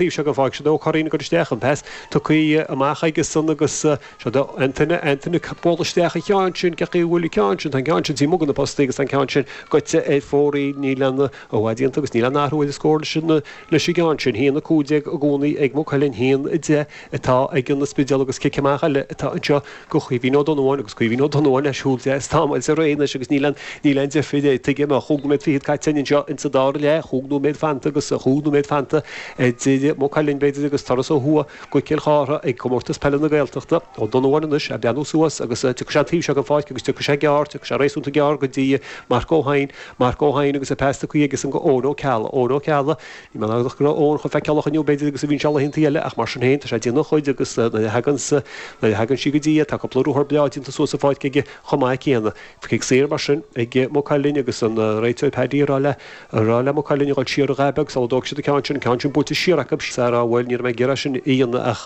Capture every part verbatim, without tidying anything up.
taobh seo den pháirc seo Ó Curraoin ag dul isteach an pas tugtha amach aige san agus seo do Anthony Anthony bualadh isteach an ceann sin cén chaoi a bhfuil an ceann sin tá an ceann sin taobh amuigh de na postaí agus tá an ceann sin goite ar fóraoil níl aon i bhfad déanta agus níl aon athrú ar an scór leis an leis an gceann sin haon a cúig déag i gcónaí ag Maigh Cuilinn haon a deich atá ag an Spidéal agus cic amach eile atá anseo go Caoimhín Ó Donnabháin agus Caoimhín Ó Donnabháin le siúl deas tamall sa ré anois agus níl aon níl aon deifir air tuige má chúig nóiméad fichead caite anseo insa dara leath chúig nóiméad fanta agus chúig nóiméad fanta idir Maigh Cuilinn b'fhéidir agus turas ó thuaidh go Cill Chartha ag Comórtas Peile na Gaeltachta Ó Donnabháin anois ag breathnú suas agus tiocfaidh sé an taobh seo den pháirc agus tiocfaidh sé gearr tiocfaidh sé réasúnta gearr go dtí Marc Ó hEidhin Marc Ó hEidhin agus an pas tugtha aige san go Eoin Ó Ceallaigh Eoin Ó Ceallaigh Ní mé go raibh Eoin chomh feiceálach inniu b'fhéidir agus a bhíonn sé laethanta eile ach mar sin féin tá sé ag déanamh a chuid agus nuair a thagann nuair a thagann sí go dtí é tá cúpla ruathar breá déanta suas sa pháirc aige chomh maith céanna. Cic saor mar sin ag Maigh Cuilinn agus an réiteoir Paddy ag rá le ag rá le Maigh Cuilinn a dhul siar a dhath beag sula dtógfaidh siad an ceann sin, an ceann sin buailte siar acu sara bhfuil ní raibh mé ag iarraidh sin a dhéanamh ach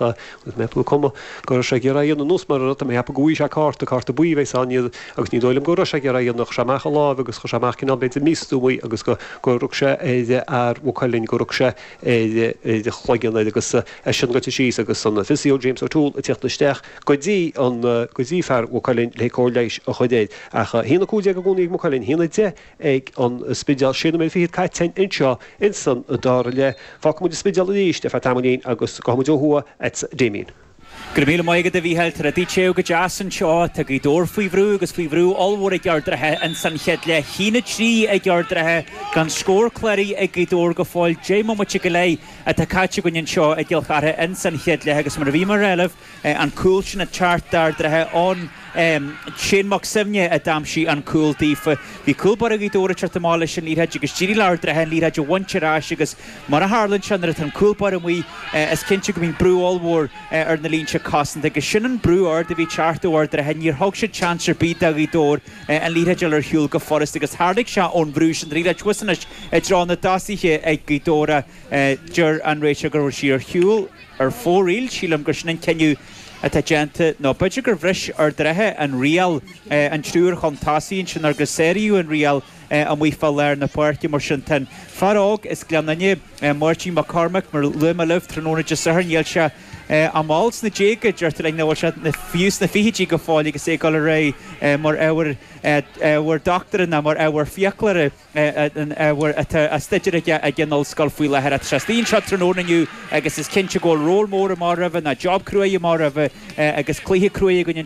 mé ag cuma go raibh sé ag iarraidh a dhéanamh nós mar a tá mé ag ceapadh go bhfaighidh sé cárta, cárta buí a bheas ann agus ní dóigh liom go raibh sé ag iarraidh a dhéanamh chuir sé amach a lámh agus chuir sé amach cineál b'fhéidir místuama agus go go rug sé ar fhear Mhaigh Cuilinn go rug sé ar ar a chloigeann air agus eisean goite síos agus an physio James O'Toole ag tíocht isteach go dtí an go dtí fear Mhaigh Cuilinn le cóir leighis a chur air. Ach a haon a cúig déag i gcónaí ag Maigh Cuilinn, a haon a deich ag an Spidéal, sé nóiméad fichead caite anseo insan dara leath. Fágfaidh muid an Spidéal arís ar feadh tamaillín agus gabhfaidh muid ó thuaidh at Damien. Go raibh míle maith agat a Mhícheáil, tá rudaí te go deas anseo, tá Gaoth Dobhair faoi bhrú agus faoi bhrú ollmhór ag Ard an Rátha ins an chéad leath. A haon a trí ag Ard an Rátha gan scór cláraithe ag Gaoth Dobhair go fóill. Deich mbomaite go leith atá caite againn anseo i gCill Chartha ins an chéad leath agus mar a bhí mé a rá libh, an cúl sin ag teacht d'Ard an Rátha ón Shane Mac Suibhne a d'aimsigh an cúl daofa. Bhí cúl báire Ghaoth Dobhair ag teacht amach leis an liathróid agus d'éirigh le Ard an Rátha an liathróid a bhaint ar ais agus mar a tharlaíonn sé nuair atá an cúl báire amuigh is cinnte go mbíonn brú ollmhór ar na línte cosanta agus sin an brú ard a bhí ag teacht ó Ard an Rátha. Níor thug siad seans ar bith do Ghaoth Dobhair an liathróid a fháil ar shiúl go furasta agus tharlaigh sé ón bhrú sin. An liathróid thuas anois i dtreo na dtosaithe ag Gaoth Dobhair. Deir an réiteoir go raibh sí ar shiúl ar fóraoil. Sílim gur sin an cinneadh atá déanta, nó b'fhéidir gur bhris Ard an Rátha an riail, an triúr chun tosaigh ansin agus sáraíodh an riail amuigh fá lár na páirce. Mar sin, tá an fear óg as Gleann Fhinne, Máirtín Mac Cormaic, mar a luaigh mé libh tráthnóna Dé Sathairn, níl sé ach mall sna déaga, deirtear linn, nach bhfuil sé fiú sna fichidí go fóill agus é ag dul ar aghaidh mar ábhar ábhar dochtúra ná mar ábhar fiaclóra. an ábhar atá á staidéar aige ag an ollscoil faoi láthair. Tá sé istigh anseo tráthnóna inniu agus is cinnte go bhfuil ról mór amach roimhe, nó job cruaidh amach roimhe agus cluiche cruaidh againn.